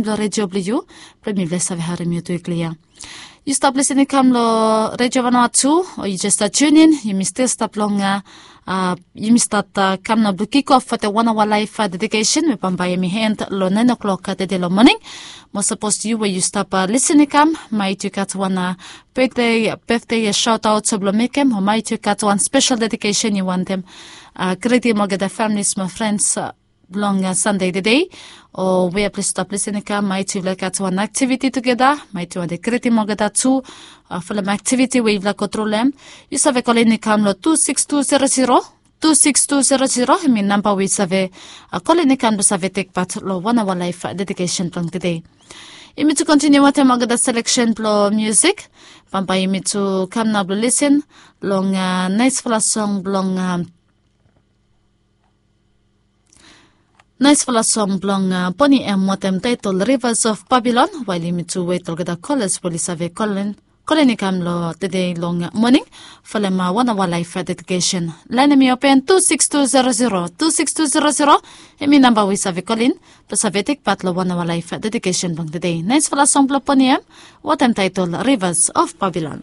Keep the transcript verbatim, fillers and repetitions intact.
blong redio blong yu, blong mifala i save harim yu tu i klia. Yu stap lisin i kam long redio vanoa tu, o yu jes stap tunin, yumi stil stap long a, yumi stat kam na blong kikof fo te wan aoa laif dedikesen we bambae yumi hen long naen oklok tede long moning. Mo sapos yu we yu stap lisin i kam, maet yu gat wan betde betde shaotaot blong mekem, o maet yu gat wan spesel dedikesen yu wantem gretim olgeta familis mo frens blong sande tede, o we ya plis stap lisin i kam, maet yufala i gat wan aktiviti tugeta, maet yu wantem gretim olgeta tu. Folem aktiviti we yufala go tru long em, yu save kolin i kam long tu siks tu zero zero, tu siks tu zero zero, hemi namba we yu save kolin i kam blong save tekpat long wan aoa laif dedikesen blong tede. Yumi tu kontiniu wantaem olgeta seleksen blong musik. Bambae yumi tu kam nao blong lisin long naesfala song blong naesfala song blong Boni M wantaem taetol Rivers of Babylon, wael yumi tu wet olgeta kolas we oli save kolin i kam long tede long moning folem wan aoa laif dedikesen. Laen hemi open tu siks tu zero zero, tu siks tu zero zero, hemi namba we yu save kolin blong save tekpat long wan aoa laif dedikesen blong tede. Naesfala song blong Boni M wantaem taetol Rivers of Babylon.